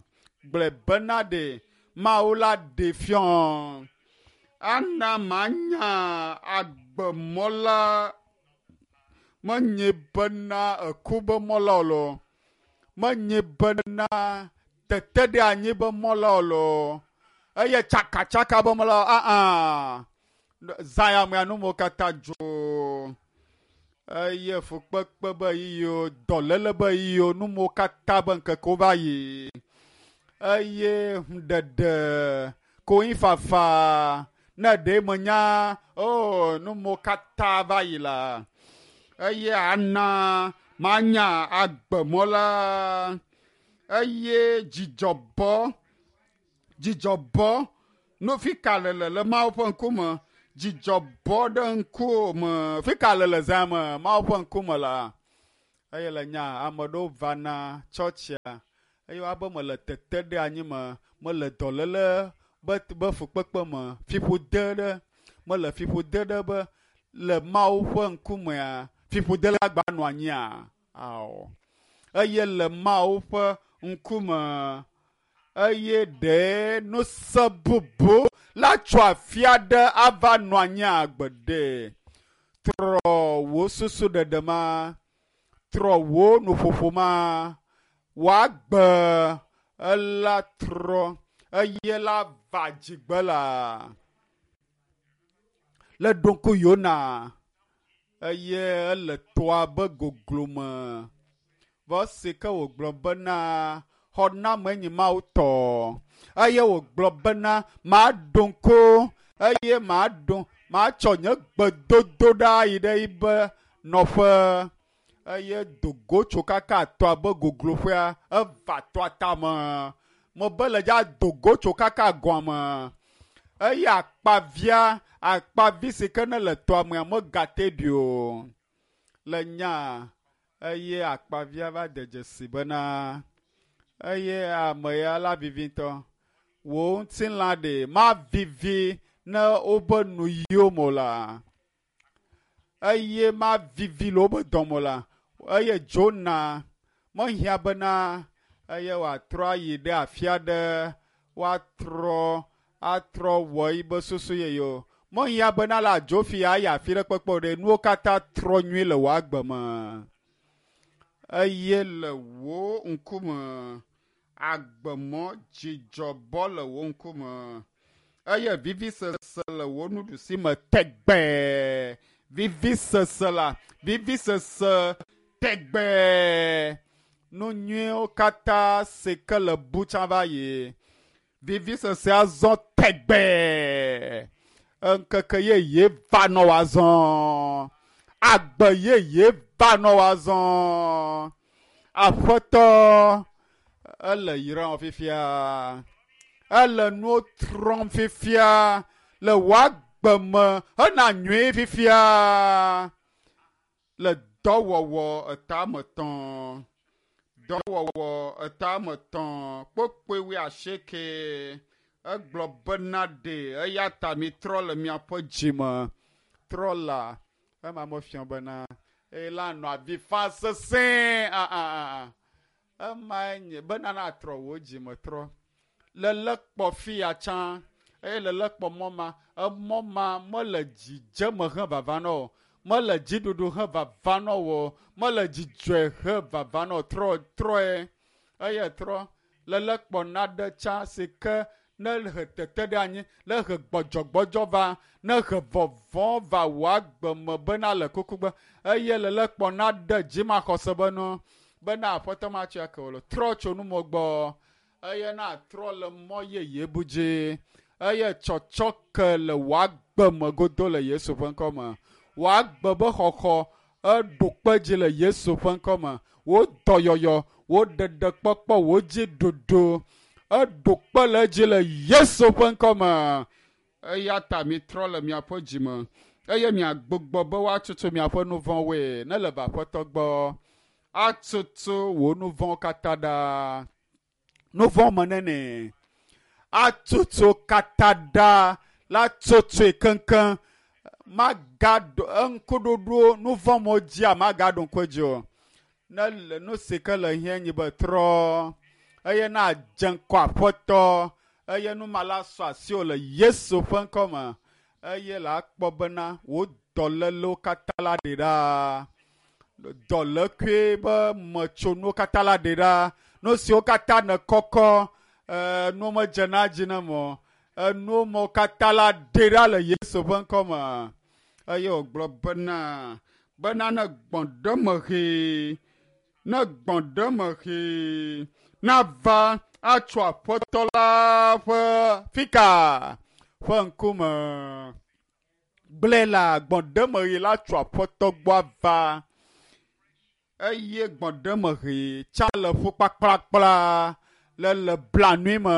Gblɔe bena ɖe Mawu la ɖe fiɔ. Ana manya agbemɔ la menye bena eku be mɔ la o loo, menye bena tete ɖe anyi be mɔ la o loo, eye tsakatsaka be mɔ la o aa zã ya mea numewo katã dzo eye fukpekpe be yiyiwo, dɔléle be yiyiwo, numewo katã be ŋkekewo va yi eye ɖeɖe konyifafa ne ɖe menya o numewo katã va yi la eye ana Manya agbemɔ la eye dzidzɔ bɔ dzidzɔ bɔ no fika le le le Mawu ƒe ŋkume dzidzɔ bɔ ɖe ŋkume fika le le zã me Mawu ƒe ŋkume la eye le nya ame ɖewo vana tsɔtsia eye woabe mele tete ɖe anyi me mele dɔléle be be fukpekpe me fiƒode ɖe mele fiƒode ɖe be le Mawu ƒe ŋkumea fiƒode la gba nɔ anyia ao eye le Mawu ƒe ŋkume eye ɖe nuse bubu la tso afia ɖe ava nɔ anyi agbeɖe trɔ wò susu ɖeɖe ma trɔ wò nuƒoƒo ma wòagbe ela trɔ eye la va dzigbe la le ɖo ŋku Yona eye ele toa be goglome vɔ si ke wògblɔ bena xɔname nyi Mawu tɔ eye wògblɔ bena maɖo ŋku eye maɖo matsɔ nye gbedodo ɖa yi ɖe yibe nɔƒe eye dogo tso kaka toa be gogloƒea eva toa tame mebe le dza dogo tso kaka gɔme eye akpavia akpavi si ke ne le toa mea megate ɖi o le nya eye akpavia va de dzesi bena eye ame ya la vivi ŋutɔ wò ŋutilã ɖe mavivi ne wobe nu yiwo me o la eye mavivi le wobe dɔme o la eye dzona mehiã bena eye wòatrɔ ayi ɖe afi aɖe woatrɔ atrɔ wɔ yibe susu yeye o mehiã bena la dzo fi ayi afi ɖe kpekpe o ɖe nuwo katã trɔ nyuie le wò agbe me eye le wò ŋkume agbemɔ dzidzɔ bɔ le wò ŋkume eye vivisese le wò nuɖusi me tegbee vivisese la vivisese tegbee nu nyuiwo katã si ke le bu tsã va yi vivisese azɔ tegbee ŋkeke yeye va nɔ wòazɔ agbe yeye va nɔ wòazɔ aƒetɔ ele yram fifia ele nuwo trɔm fifia le wò agbe me hena nyuie fifia le dɔwɔwɔ etametɔ̃ dɔwɔwɔ etametɔ̃ kpokpoe wuiasieke egblɔ bena ɖe eya ta mitrɔ le miaƒe dzime trɔ la ema mefia bena eye la nɔ avi fa sesẽ a a a emae nye bena natrɔ wò dzime trɔ lele kpɔ fi ya tsã eye lele kpɔ mɔ ma emɔ ma mele dzidzeme he vava na o mele dziɖuɖu he vava na o mele dzidzɔe he vava na o trɔ trɔe eye trɔ lele kpɔ naɖe tsã si ke ne he tete ɖe anyi ne he gbɔdzɔgbɔdzɔ va ne he vɔvɔ̃ va wò agbe me bena le kukugbe eye lele kpɔ naɖe dzimaxɔse be nu bena aƒetɔ matsɔe ake o le trɔ tso numɔ gbɔ eye natrɔ le mɔ yeye bu dzi eye tsɔtsɔ ke le wò agbe me godo le Yesu ƒe ŋkɔ me wò agbe be xɔxɔ eɖo kpe dzi le Yesu ƒe ŋkɔ me wò dɔyɔyɔ wò ɖeɖekpɔkpɔ wò dzi ɖoɖo eɖo kpe le edzi le Yesu ƒe ŋkɔ me eya ta mitrɔ le miaƒe dzime eye miagbugbɔ be woatutu miaƒe nu vɔ̃woe ne le va aƒetɔ gbɔ atutu wò nu vɔ̃wo katã ɖa nu vɔ̃ me nene atutu katã ɖa la tutui keŋkeŋ magaɖo eŋkuɖoɖo nu vɔ̃ me dzia magaɖo ŋku edzi o ne le nu si ke le hiã nyi be trɔ eye na dze ŋkɔ aƒetɔ eye nu ma la sɔ asiwò le Yesu ƒe ŋkɔ me eye la akpɔ bena wò dɔlélewo katã la ɖe ɖa dɔlékui be metsonuwo katã la ɖe ɖa nu siwo katã nèkɔkɔ ɛɛ nuwo medzena dzi ne mo enuwo me katã la ɖe ɖa le Yesu ƒe ŋkɔ me eye wògblɔ bena bena ne gbɔ̃ ɖe me ʋee ne gbɔ̃ ɖe me ʋee nava atso aƒetɔ la ƒe fika ƒe ŋkume gblẽ la gbɔ̃ ɖe me ʋee la tso aƒetɔ gbɔ ava Eye gbɔɖemeɣi tsa le ƒu kpakplakpla le le blanui me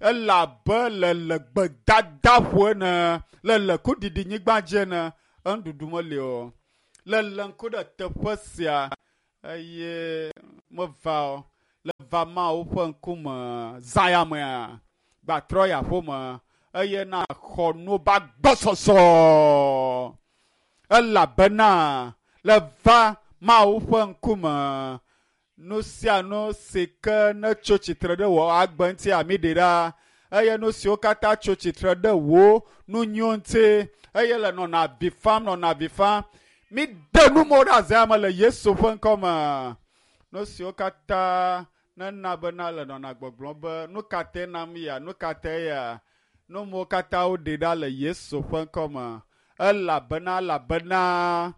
elabe le le gbedadaƒo ene le le kuɖiɖinyigba dzi ene enuɖuɖu meli o. Le le ŋku ɖe teƒe sia eye meva o le va Mawu ƒe ŋkume zã ya mea gbatrɔ yi aƒeme eye na xɔ nu ba gbɔsɔsɔ elabena le va Mawu ƒe ŋkume nu sia nu si ke ne tso tsitre ɖe wò agbe ŋuti ami ɖe ɖa eye nu siwo katã tso tsitre ɖe wò nu nyuiwo ŋuti eye le nɔna avi fam nɔna avi fam mi de nu mo ɖe azã me le Yesu ƒe ŋkɔ me nu siwo katã nena bena le nɔna gbɔgblɔm be nu ka te nam ya nu ka te ya nu mo katã woɖe ɖa le Yesu ƒe ŋkɔ me elabena elabena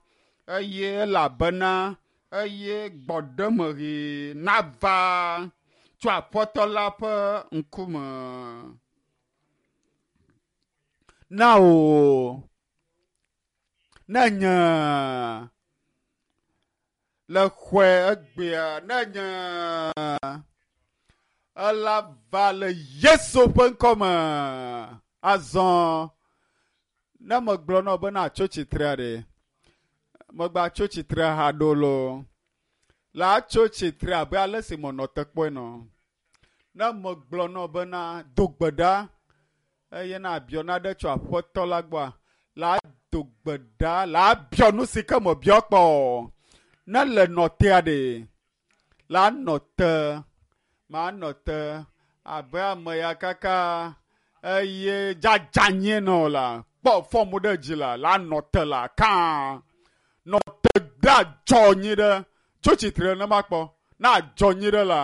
eye elabena eye gbɔɖemeɣi nava tso Aƒetɔ la ƒe ŋkume na wò ne nye le xɔe egbea ne nye ela va le Yesu ƒe ŋkɔ me azɔ ne megblɔ na wò bena tso tsitrea ɖe megba tso tsitre haɖo lo la tso tsitre abe ale si menɔ te kpɔe nɔ ne megblɔ na wò bena do gbe ɖa eye na abiɔ naɖe tso Aƒetɔ la gbɔa la do gbe ɖa la abiɔ nu si ke mebiɔ kpɔ o ne le nɔ tea ɖe la nɔ te manɔ te abe ame ya kaka eye dzadzanyie nɔ la kpɔ fɔmu ɖe dzi la la nɔ te la kãa nɔ te ɖe adzɔ nyi ɖe tso tsitre ne makpɔ na adzɔ nyi ɖe la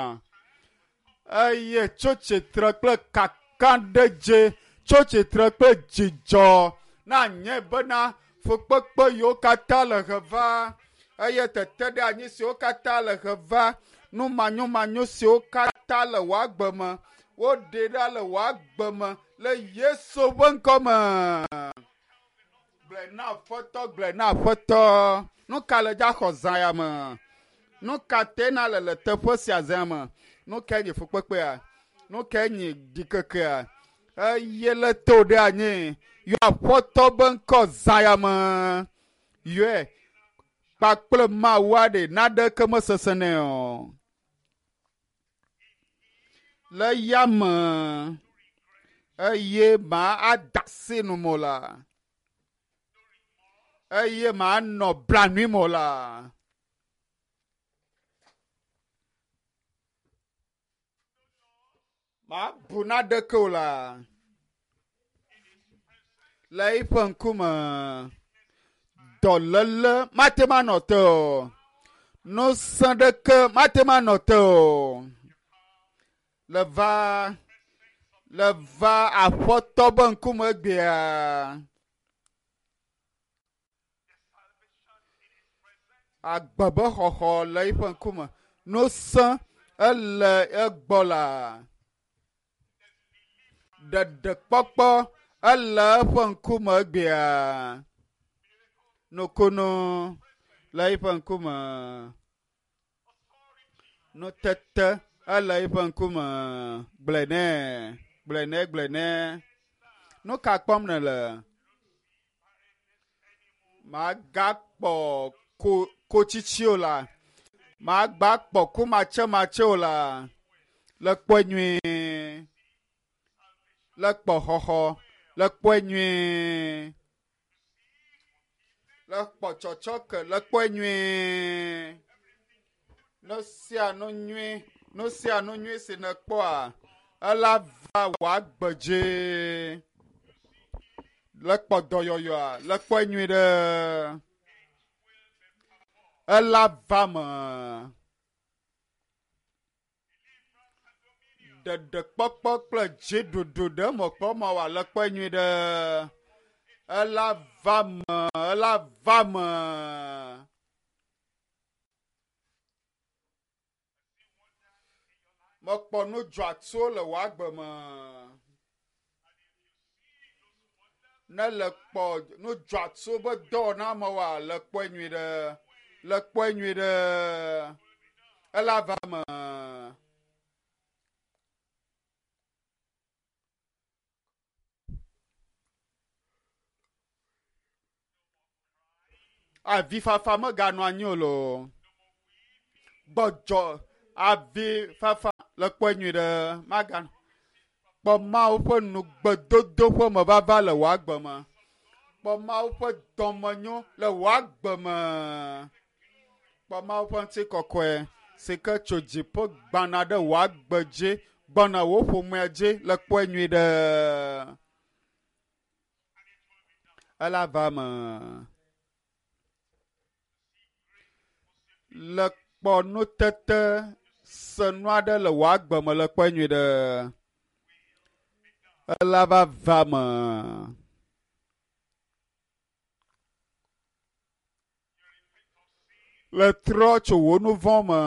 eye tso tsitre kple kakaɖedze tso tsitre kple dzidzɔ na nye bena fukpekpe yiwo katã le heva eye tete ɖe anyi siwo katã le heva nu manyomanyo siwo katã le wò agbe me woɖe ɖa le wò agbe me le Yesu ƒe ŋkɔ me. Gblɔe na Aƒetɔ, gblɔe na Aƒetɔ. Nu ka le dza xɔ zã ya me? Nu ka te na le le teƒe sia zã me? Nu kae nye fukpekpea? Nu kae nye ɖikekea? Eye le to ɖe anyi yɔ Aƒetɔ be ŋkɔ zã ya me. Yɔe kpakple Mawu aɖe naɖeke mesesẽ nɛ o. Le ya me eye ma ada asi nu mo la eye manɔ blanui mo la. Mabu naɖeke o la le eƒe ŋkume dɔléle mate ŋu anɔ te o nusẽ ɖeke mate ŋu anɔ te o le va le va Aƒetɔ be ŋkume egbea. Agbe be xɔxɔ le eƒe ŋkume nusẽ ele egbɔ la ɖeɖekpɔkpɔ ele eƒe ŋkume egbea nukunu le eƒe ŋkume nutete ele eƒe ŋkume gblɔe nɛ gblɔe nɛ gblɔe nɛ nu ka kpɔm nèle magakpɔ ko kotsitsi o la magba kpɔ kumatsematse o la le kpɔe nyuie le kpɔ xɔxɔ le kpɔe nyuie le kpɔ tsɔtsɔke le kpɔe nyuie nu sia nu nyui nu sia nu nyui si nèkpɔa ela va wò agbe dzi le kpɔ dɔyɔyɔa le kpɔe nyui ɖe ela va me ɖeɖekpɔkpɔ kple dziɖuɖu ɖe mɔkpɔ ma wòa le kpɔe nyui ɖe ela va me ela va me mekpɔ nu dzɔatsuwo le wò agbe me ne le kpɔ nu dzɔatsuwo be dɔwɔna me wòa le kpɔe nyui ɖe Le kpɔe nyui ɖe. Ela va me. Avifafa meganɔ anyi o loo. Gbɔdzɔ avifafa le kpɔe nyui ɖe maganɔ. Kpɔ Mawu ƒe nugbedodo ƒe mevava le wò agbe me. Kpɔ Mawu ƒe dɔmenyo le wò agbe me. Kpɔ Mawu ƒe ŋutikɔkɔe si ke tso dziƒo gbana ɖe wò agbe dzi gbɔna wò ƒomea dzi le kpɔe nyui ɖe. Ela va me. Le kpɔ nutete senu aɖe le wò agbe me le kpɔe nyui ɖe. Ela va va me. Le trɔ tso wò nu vɔ̃ me.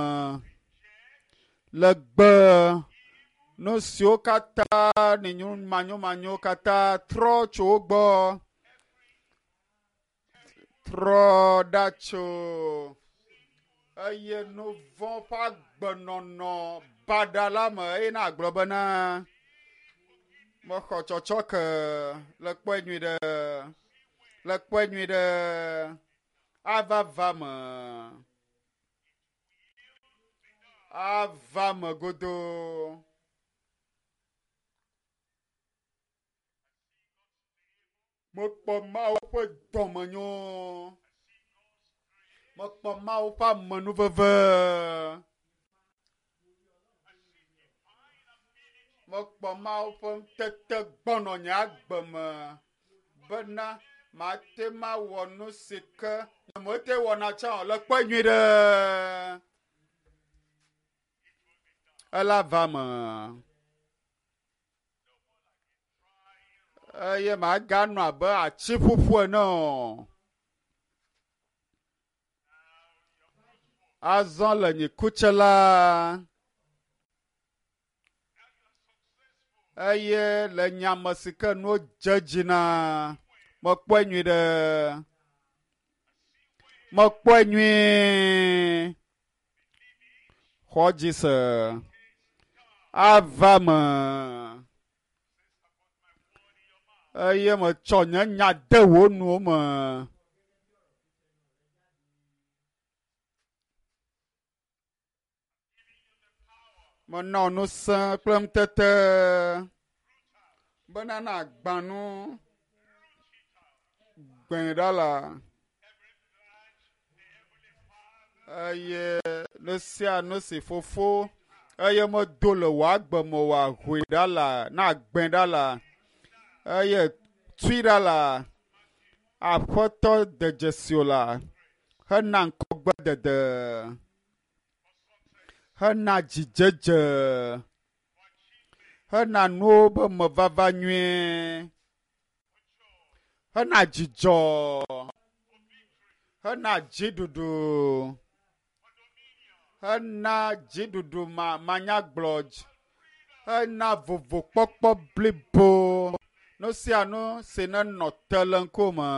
Le gbe nu siwo katã ne manyomanyo katã trɔ tso wo gbɔ. Trɔ ɖa tso eye nu vɔ̃ ƒe agbenɔnɔ baɖa la me eye na agblɔ bena mexɔ tsɔtsɔke le kpɔe nyui ɖe. Le kpɔe nyui ɖe. Ava va me. Ava me godoo. Mekpɔ Mawu ƒe dɔmenyo. Mekpɔ Mawu ƒe amenuveve. Mekpɔ Mawu ƒe ŋutete gbɔnɔ nye agbe me bena mate mawɔ nu si ke nyemete wɔna tsã o le kpɔe nyui ɖe. Ela va me. Eye maganɔ abe ati ƒuƒu ene o. Azɔ le nye kutse la eye le nyame si ke nuwo dze dzi na mekpɔe nyui ɖe. Mekpɔe nyuie. Xɔ dzi se. Ava me. Eye metsɔ nye nya de wò nuwo me. Menɔ ŋusẽ kple ŋutete bena nàgbã nu gbẽ ɖa la. Eye nu sia nu si fofo eye medo le wò agbe me wòahoe ɖa la, nagbẽ ɖa la, eye tui ɖa la, Aƒetɔ de dzesi o la, hena ŋkɔgbedede, hena dzidzedze, hena nuwo be mevava nyuie, hena dzidzɔ, hena dziɖuɖu, hena dziɖuɖu ma manyagblɔ, hena vovokpɔkpɔ blibo. Nu sia nu si nenɔ te le ŋkume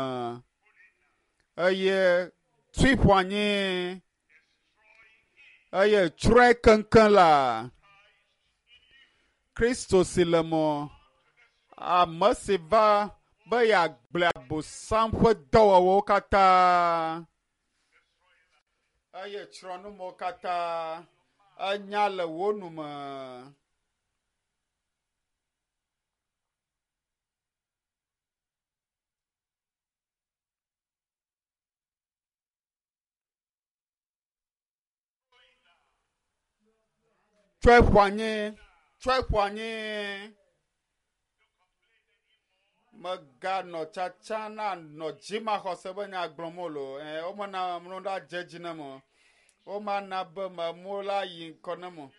eye tui ƒo anyi eye tsrɔ̃e keŋkeŋ la, Kristo si le mɔ, ame si va be yeagblẽ Abosam ƒe dɔwɔwɔwo katã eye tsrɔ̃ numewo katã enya le wò nu me. Tsɔe ƒo anyi, tsɔe ƒo anyi. Meganɔ tsatsa na nɔ dzimaxɔse be nya gblɔm o loo. Ɛ, womena mlo ɖa dze dzi ne mo. Womana be memo la yi ŋkɔ ne mo.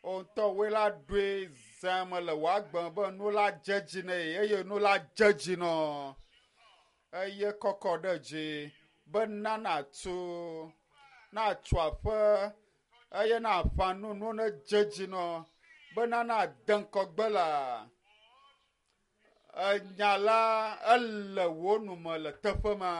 O ŋutɔ woe la ɖoe zã me le wò agbe me be nu la dze dzi ne ye eye nu la dze dzi nɔ. Eye kɔkɔ ɖe dzi bena nàtu, nàtu aƒe eye nàƒã nu nu ne dze dzi nɔ bena nàde ŋkɔgbe la. Enya la ele wò nu me le teƒe ma.